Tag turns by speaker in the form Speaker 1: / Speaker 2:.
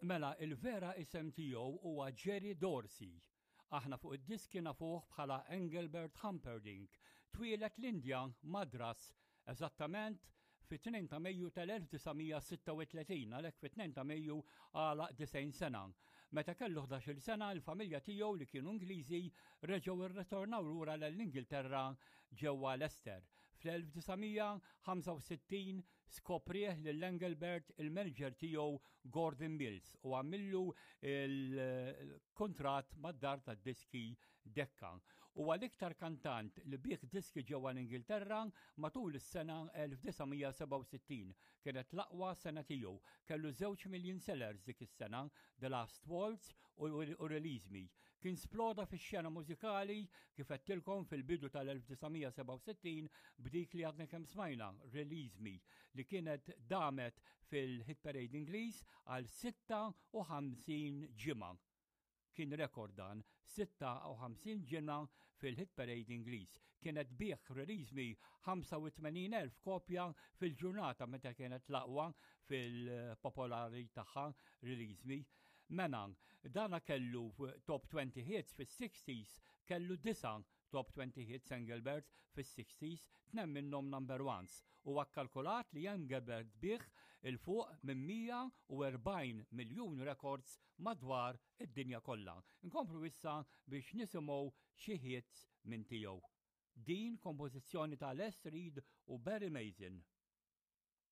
Speaker 1: Mela il-vera isem tiegħu huwa Jerry Dorsey. Aħna fuq id-diski nafuh bħala Engelbert Humperdinck. Twieled l-Indja, Madras, eżattament fit-2 ta' Mejju tal-1936, għalhekk fit-2 ta' Mejju għalaq 90 sena. Meta kellu 11-il sena, il-familja tiegħu li kienu Ingliżi reġgħu rritornaw lura l-Ingilterra ġewwa Leicester. Fl-1965 skoprieh lil Engelbert il-manager tiegħu Gordon Mills u għamillu il-kuntratt mad-dar tad-diski Decca. Huwa l-iktar kantant li biegħ diski ġewwa l-Ingilterra matul is-sena 1967. Kienet l-aqwa sena tiegħu. Kellu żewġ million sellers dik is-sena, The Last Waltz u Release Me. Kien sploda fix-xena mużikali kif għedtilkom fil-bidu tal-1967 b'dik li għadna kemm smajna, Release Me, li kienet damet fil-Hit Parade Ingliż għal 56 ġimgħa. Kien rekord dan, 56 ġimgħa fil-Hit Parade Ingliż. Kienet biegħ Release Me 85,000 kopja fil-ġurnata meta kienet l-aqwa fil-popolari tagħha Release Me. Mena, dana kellu top 20 hits fis-60s, kellu disa' top 20 hits Engelbert fis-60s, tnem minnhom number ones. Huwa kkalkulat li Engelbert biegħ 'il fuq minn 140 miljun records madwar id-dinja kollha. Inkomplu issa biex nisimgħu xi hits minn tiegħu. Din kompożizzjoni ta' Les Reed u Barry Mason.